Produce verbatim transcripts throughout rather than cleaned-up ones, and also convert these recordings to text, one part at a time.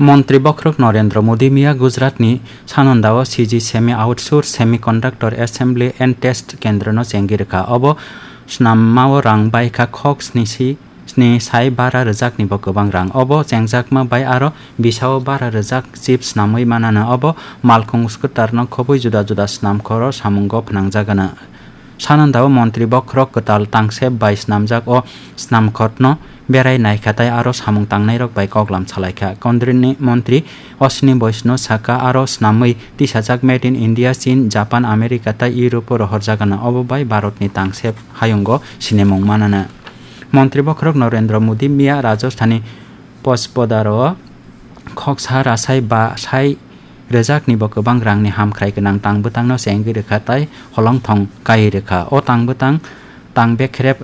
Montri bokhorok Narendra Modi miya Gujaratni Sanandao C G Semi Outsource Semiconductor Assembly and Test Kendrono chengwi rwkha. Obo snamao rang baikha khok sni si, sni sai bara rwjaknibo kwbang rang. Obo chengjakma bai aro bisao bara rwjak chip snamwi manano. Obo malkhung scooterno khobwi juda juda snamkhoro samungo phnangjakgana. Sanandao montri bokhorok kwtal tangsep bai snamjak o snamkhorno berai naikha tei aro samung tangnairok bai koklam salaikha. Kondrini montri Ashwini Vaishnaw saka aro snamwi tisajak Made in India, Chin, Japan, America tei Europe-o rohorjakgana, obo bai Bharatni tangsep hayungo sinimung manana. Montri bokhorok Narendra Modi miya Rajasthanni Pospodaro khoksa rasai ba sai rwjaknibo kwbang rangni hamkhrai gwnang tang bwtangno chengwi rwkha tei holongthong kaiwi rwkha. O tang bwtang tang bekrep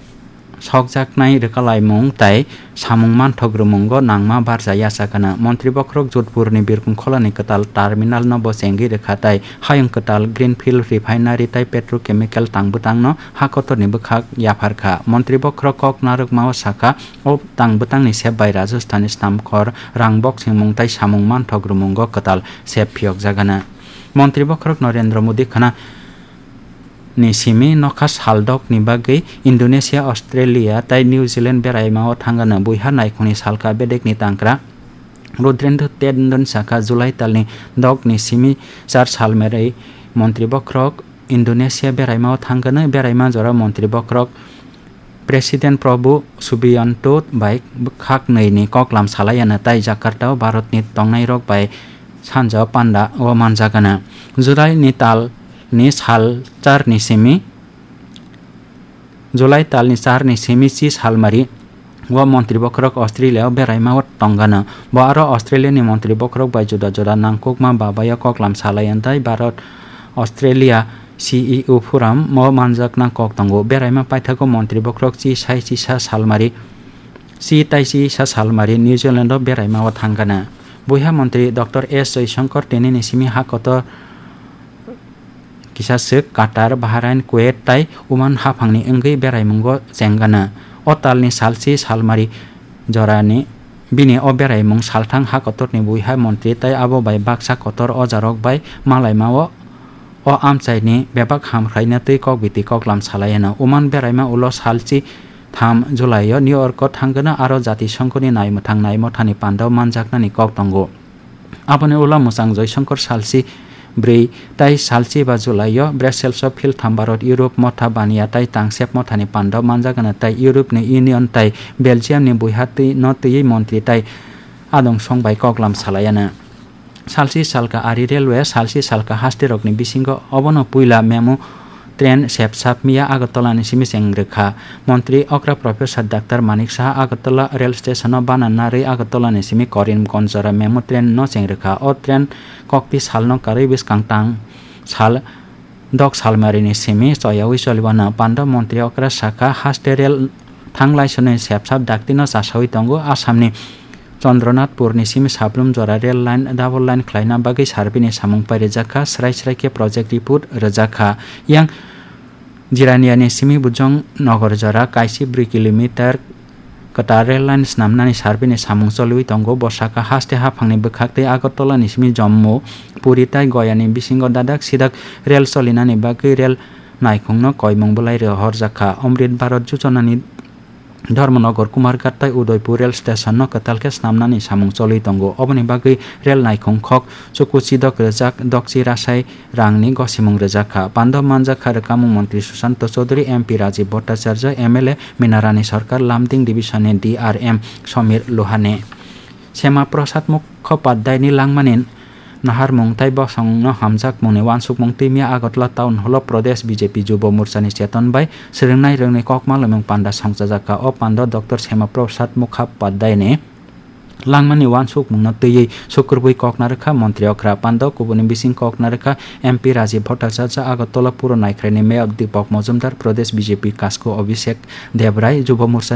sokjaknai rwkalaimung tei samung manthok rwmungo nangma barja yachakgana. Montri bokhorok Jodhpurni Birkum Kholani kwtal terminalno bo chengwi rwkha tei hayung kwtal Greenfield Refinery tei Petrochemical tang bwtangno ha kotorni bwkhak yapharkha. Montri bokhorok kok narwkmao sakha, o tang bwtangni sep bai Rajasthanni snamkhor rang boksingmung tei samung manthok rwmungo kwtal sep phiyokjakgana. Montri bokhorok Narendra Modi khana ni simi nokha sal dokni bagwi Indonesia, Australia tei New Zealand beraimao thangano. Buiha naikhungni salka bedekni tangkra Rudrendra Tendon sakha, July talni dokni simi char salmari montri bokhorok Indonesia beraimao thangano. Beraima jora montri bokhorok President Prabowo Subianto bai khaknwini koklam salaiano tei Jakarta-o Bharatni tongnairok bai sanja panda o manjakgana. July ni tal ni sal char ni simi, July tal ni char ni simi chi salmari o montri bokhorok Australia o beraima o tonggana. Bo aro Australia ni montri bokhorok bai juda juda nangkukma babayo koklam salai tei Bharat Australia C E O forum o manjakna kok tongo. Beraima paithago montri bokhorok chi sai chi sa salmari, chi tai chi sa salmari New Zealand o beraima o thangana. Buiha montri Doctor S Jaishankar tini ni simi ha kotor kisa swk Qatar, Bahrain, Kuwait tai Oman haphangni wngwi beraimungo chengana. O talni salchi salmari jorani bini o beraimung salthang ha kotorni buiha montri tai abo bai baksa kotor ojarok bai malaimao o amchaini bebak hamkhraina twi kokbiti koklam salaiano. Oman beraima ulo salchi tham July-o New York-o thangana aro Jati Songkhoni naimwthang naimothani pandao manjaknani kok tongo. Aboni ulo mwchang Joysongkor salchi bwrwi tai salchi ba July-o Brussels-o philtham Bharat Europe motha baniya tai tangsep mothani pandao manjakgana tai Europe-ni Union tai Belgium-ni buiha twi no twiwi montri tai adong song bai koklam salaiana. Salchi salka ari railway, salchi salka haste rokni bisingo obono puila memo train sepsap miya Agartala ni simi cheng rwkha. Montri okra Professor Doctor Manik Saha Agartala rail station o bana narwi Agartala ni simi Karimganj jora memo train no cheng rwkha. O train kokti salno karwi bwskang tang sal dok salmari ni simi choyawi choliwano. Pando montri okra sakha haste rail thanglai swnwi sepsap dakti no chasawi tongo. Assam ni Chandranathpur ni simi Sablum jora rail line double line khlaina bagwi survey ni samung pairijak kha, srai srai khe project report rwjak kha. Yang Jirania ni simi Bujong Nagar jora kaisi bwrwi kilometer kwtal rail line snamnani survey ni samung choliwi tongo. Bo sakha haste haphangni bwkhak tei Agartala ni simi Jammu, Puri tai Goya ni bisingo dadak sidak rail cholinani bagwi rail naikhungno koimung bwlai rohorjak kha. Amrit Bharat Jojona ni Dharmanagar, Kumarghat tai Udaipur rail station no kwtal khe snamnani samung choliwi tongo. Oboni bagwi rail naikhung khok chuku chidok rwjak, dokchi rasai rangni gosimung rwjak kha. Pando manjak kha rwkamung montri Sushanta Chowdhury, M P Rajiv Bhattacharya, M L A Minarani Sarkar, Lumding division ni D R M Samir Lohane. Sema Prasad Mukhopadhyay ni langmani naharmung tai bosongno hamjakmungni uansukmung twi miya Agartala Town Hall o Pradesh B J P Jubo Morcha ni cheton bai swrwngnai rwngni kokma lwmung panda songchajak kha. O panda Doctor Sema Prasad Mukhopadhyay ni langmani uansukmungno twiwi sukrubwi kokna rwkha montri okra. Panda kubuni bising kokna rwkha M P Rajiv Bhattacharya, Agartala Puro Naikhrai ni Mayor Deepak Majumdar, Pradesh B J P Kasku Abhishek Debrai, Jubo Morcha ni